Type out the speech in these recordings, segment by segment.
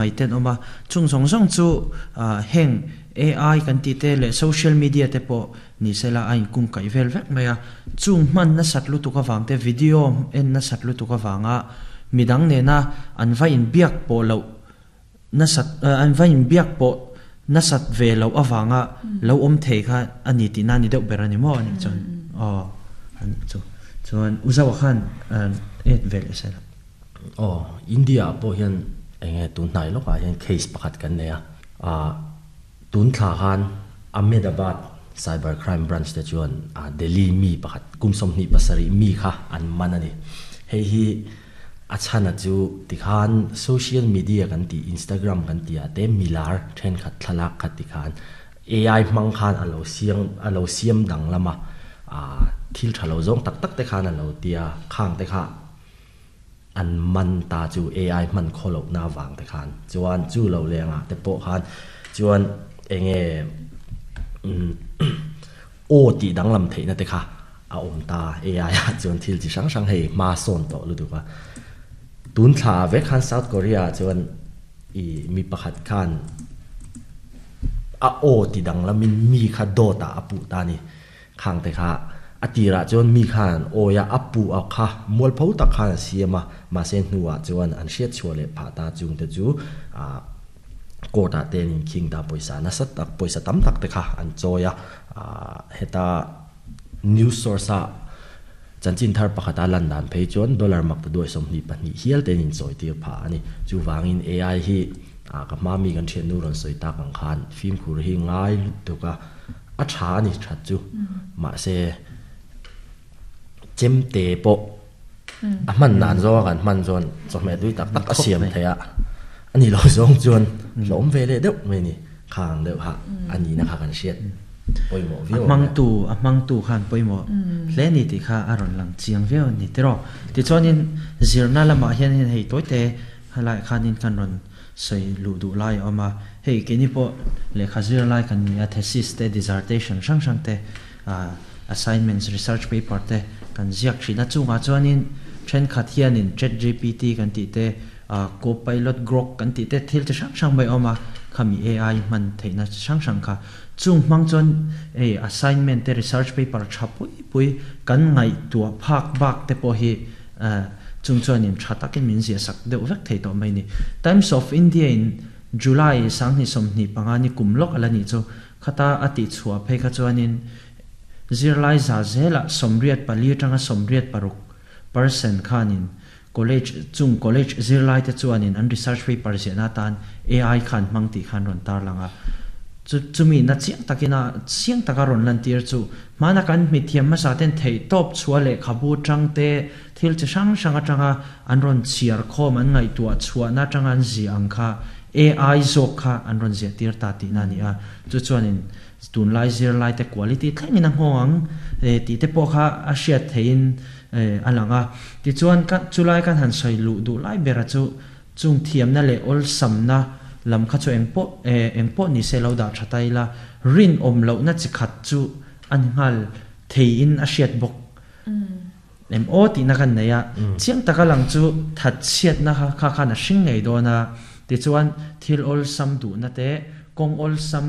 Mai ten awm a, chung zawng zawng chu heng AI kan tih te leh social media te pawh ni sela a inkung kaih vel vek mai a, chung hman nasat lutuk avang te video en nasat lutuk avanga midang nena an va inbiak pawh loh nasat an va inbiak pawh nasat ve loh avanga lo awm thei kha a ni tihna a ni deuh ber a ni maw a nih chuan aw a nih chu chuan u Zoa khan et ve leh sela. Aw, India ah pawh hian eng nge tun hnai lawkah hian case pakhat kan nei a, ah tun thla khan Ahmedabad Cyber Crime Branch te chuan Delhi mi pakhat kum 27 mi kha an man a ni. Hei hi a chhana chu tikhan social media kan tih Instagram kan tih ah te milar thenkhat thlalak kha tikhan AI hmang khan a lo siam a lo siam danglam a, ah thil tha lo zawng tak tak te khan a lo tia khang te kha An man ta chu AI hman khaw lohna avang te khan chuan chu lo lengah te pawh khan chuan eng nge aw tih danglam theihna te kha a awm ta AI ah chuan thil chi hrang hrang hei hma sawn tawh lutuk a. Tun thla ah vek khan South Korea ah chuan ih mi pakhat khan a aw ti danglamin mi kha dawt ah a puh ta a ni. Khang te kha a tirah chuan mi khan an awi a, a puh a kha mualpho tak khan a siam a, mahse hnuah chuan an hriat chhuah leh phah ta chung te chu ah court ah te an inkhing ta pawisa nasa tak pawisa tam tak te kha an chawi a, ah heta news source a chanchin thar pakhat a lan dan phei chuan dollar mak ta duai 22 hial te an inchawi tir phah a ni. Chuvangin AI hi ah ka hma mi kan thiannu rawn sawi tak ang khan fimkhur hi ngai lutuk a. A tha a ni that chu. Mahse, chemte pawh a hman dan zawnga kan hman chuan chawhmeh tui tak tak a siam thei a. A ni lo zawng chuan hlawm ve leh deuh mai a ni. Khang deuh kha a nihna kha kan hriat pawimawh viau ang. A hmangtu, a hmangtu khan pawimawh hle a ni tih kha a rawn lang chiang viau a ni tiraw. Tichuanin zirna lamah hianin hei tawite helaiah khanin kan rawn sawi luh duh lai a awm a, hei keini pawh lehkha zir lai kan ni a, thesis te, dissertation hrang hrang te, assignments, research paper te kan ziak thin a, chungah chuanin thenkhat hianin chat gpt kan tih te, copilot, grok kan tih te thil chi hrang hrang mai a awm a, khami AI hman theihna chi hrang hrang kha chung hmang chuan hei assignment te, research paper tha pui pui kan ngaihtuah phak bak te pawh hi Chung chuanin tha takin min ziah sak deuh vek thei tawh mai ni. Times of India in July 2025 ni kum lawk a la nih chu khata a tih chhuah phei kha chuanin zirlai za zelah 84 atanga 86% khanin college chung college zirlai te chuanin an research paper ziahna atan AI khan hmang tih khan rawn tarlang a. Chu chumi na chiang takin a chiang taka rawn lantir chu Hmana kan hmithiam hmasa ten theihtawp chhuah lehkhabu tang te, thil chi hrang hrang atanga an rawn chhiar khawm an ngaihtuah chhuahna atanga an ziah ang kha AI zawk kha an rawn ziah tir ta tihna a ni a. Chu chuanin tunlai zirlai te quality thlengin a nghawng ang tih te pawh kha a hriat theihin a lang a. Tichuan ka chulai kan han sawi luh duh lai bera chu chung thiamna leh awlsamna lam kha chu engpawh engpawh ni se lo dah tha ta ila, rinawm lohna chi khat chu a ni nghal theiin a hriat bawk em aw tihna kan nei a, chiang taka lang chu thatchhiatna kha kha khan a hring ngei dawn a, tichuan thil awlsam duhna te kawng awlsam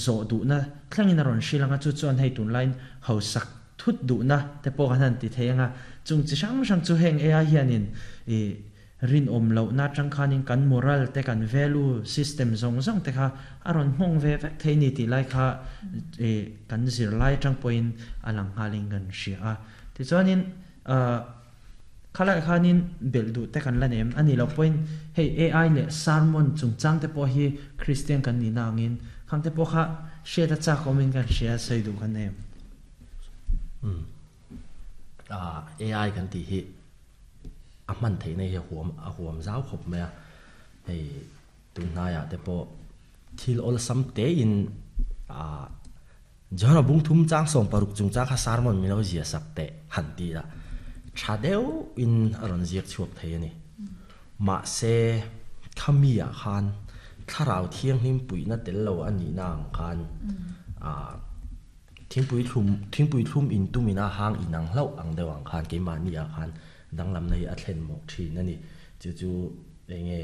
zawh duhna thlengin a rawn hrilh ang a, chu chuan hei tunlaiin hausak Thut duhna te pawh kan han ti thei ang a, chung chi hrang hrang chu heng AI hianin ih rinawm lohna atang khanin kan moral te kan value system zawng zawng te kha a rawn nghawng ve vek thei ni tih lai kha ih kan zirlai atang pawhin a lang nghalin kan hria a. Tichuanin ah khalaiah khanin belh duh te kan la nei em? A nih loh pawhin hei AI leh sermon chungchang te pawh hi Kristian kan nihna angin khang te pawh kha hriat a chak awmin kan hria sawi duh kan nei em? Umm ah AI kan tih hi a hman theihna hi a huam a huam zau khawp mai a, hei tun hnaiah te pawh thil awlsam tein ah John-a bung thum chang 60 chungchang kha sermon min lo ziah sak teh han ti a, tha deuhin a rawn ziak chhuak thei a ni. Mahse khami ah khan thlarau thianghlim puihna tel lo a nihna ang khan ah Thingpui thlum, thingpui thlum in tum ina hang in ang hlauh ang deuh ang khan keimahni ah khan danglamna hi a thlen mawh thin a ni. Chu chu eng nge